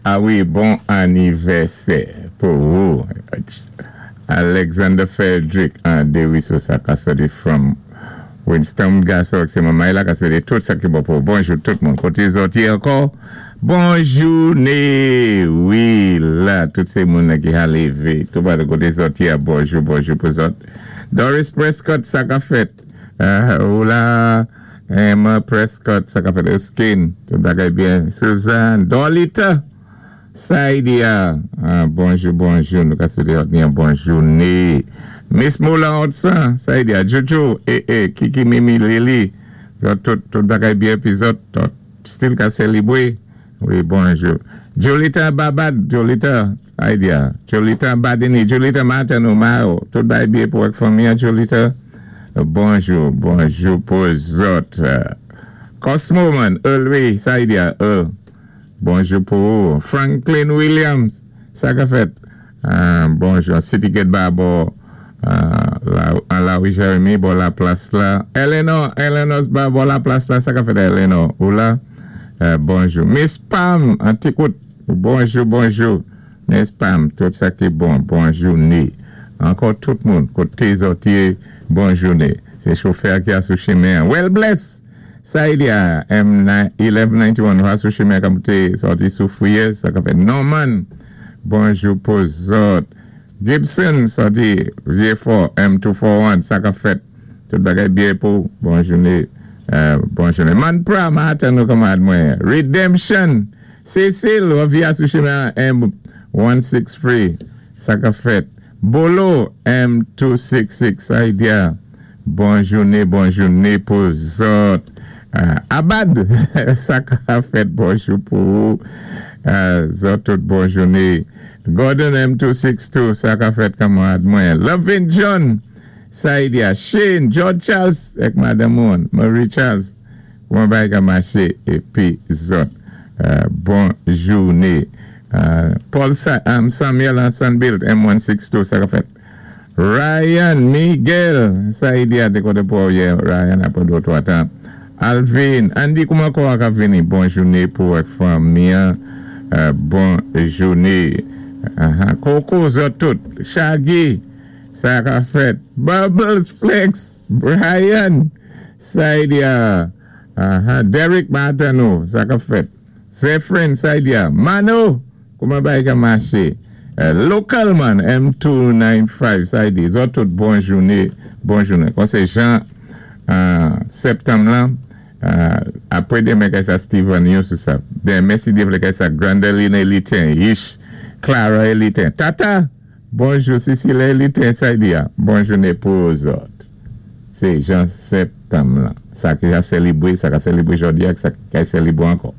A wi, bon anivèsè pou ou. Alexander Frederick an Deriso sa ka soti from Winston gason ak se manman la ka swété tout sa ki bon pou ou. Bonjou tout moun. Koté zòt yé ankò? Bon jouné! Wi la, tout sé moun ki ha lévé. Tout pa koté zòt yé a bonjou, bonjou pou zòt. Doris Prescott, sa ka fèt. Ou la, Emma Prescott, sa ka fèt. Erskine, tout bagay byen. Suzanne, Dorlita, Saidia, bonjou, bonjou. Nou ka swété zòt ni yon bon jouné. Miss Moula Hudson, Saidia, Jojo, eh eh, Kiki, Mimi, Lily, zòt tout, tout bagay byen, pi zòt, zòt still ka sélibwé. Wi, bonjou. Jolita Babad, Jolita, Saidia, Jolita Badini, Jolita Martin Omar, tout bagay byen pou ak fanmi an, Jolita. Bonjou, bonjou pou zòt. Cosmo man, Earl wi, Saidia, Earl. Bonjou pou ou. Franklin Williams, sa ka fèt? Bonjou. City Gate ba bò an la wi Jeremy, bò la plas la. Eleanor, Eleanor ba bò la plas la, sa ka fèt, Eleanor? Ou la? Bonjou. Miss Pam, an ti kout. Bonjou, bonjou. Miss Pam, tout sa ki bon, bon jouné. Ankò tout moun, koté zòt yé, bon jouné. Sé chofè ki a sou chimen an. Well bless! Sa y di a M 1191 va sou chimen ka moute sòti sou Fouye sa ka fèt. Norman, bonjou pou zòt. Gibson sòti Vye Fò M 241 sa ka fèt. Tout bagay byen pou bon jouné, bon jouné. Manpra, m atann ou kanmarad mwen. Redemption, Cecil, w ap via sou chimen an M 163 sa ka fèt. Bolo M 266 sa y di a. Bon jouné, bon jouné pou zòt. Abad, sa ka fèt bonjou pou ou. Zòt tout bon jouné. Gordon M262, sa ka fèt kanmarad mwen. Lovin John, sa y di a. Shane, George Charles, èk madanm ou, Marie Charles. Kouman bagay ka maché épi zòt. Bon jouné. Paul Samuel an Sunbuilt M162, sa ka fèt. Ryan Miguel sa y di a té koté pou ou yé Ryan apwé 2 ou 3 tan. Alvin Andy kouman kò a ka vini? Bon jouné pou ak fanmi an bon jouné. Koko zòt tout Shaggy sa ka fèt Bubbles Flex Brian sa y di a Derrick m atann ou sa ka fèt Zephrine sa y di a Mano kouman bagay ka maché? Local man M295 sa y di zòt tout bon jouné, bon jouné. Kon sé jan septanm lan apwé demen kay sa Steven yon sou sa demen si Dye vlé kay sa Grandeline Elitin Yish Clara Elitin Tata bonjou Cecile Elitin sa y di a bon jouné pou zòt. Sé jan septanm lan sa ki ka selibré sa ka selibré jòdi a ak sa ki kay selibré ankò.